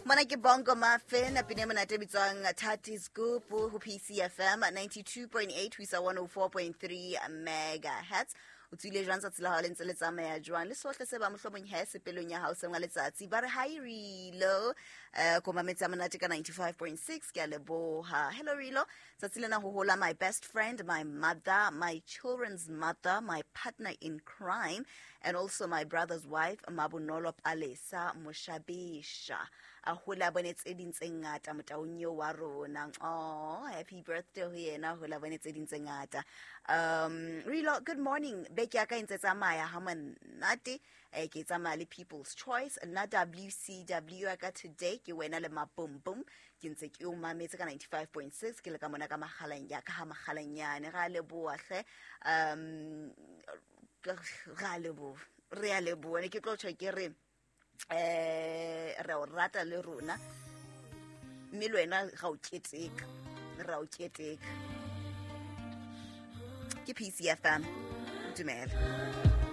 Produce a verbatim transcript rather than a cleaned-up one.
Mona ke Bongo Maffin, pina e monate e bitswang Thati Scoop ho P C F M ninety-two point eight ho isa one oh four point three megahertz. O tswile jwang? Tsatsi la hao le ntse le tsamaya jwang? Le sohle se ba mohlomong he sepelong ya hao seng wa letsatsi ba re hi Rilo, eh ko mametse a monate ka ninety-five point six, ke a leboha. Hello Rilo, tsatsi lena ho hola my best friend, my mother, my children's mother, my partner in crime and also my brother's wife, Mabonolo Palesa Moshabesha, a hola bone tse ding tse ngata motaung eo wa rona. Oh, happy birthday ho yena, hola bone tse ding tse ngata. um Rilo, good morning. Beke ya ka e ntse tsamaya ha monate, eh ke tsamaya le People's Choice. Nna W C W ya ka today ke wena le Mabumbum, ke ntse ke o mametse ka ninety-five point six, ke le ka mona ka magaleng ya ka ha Magalanyane. Ga leboa hle, um ga leboa, re a leboa. Ne ke tlo tjho ke re eh re o rata le rona, mme le wena ga o keteka, re a o keteka. Ke P C F M, dumela.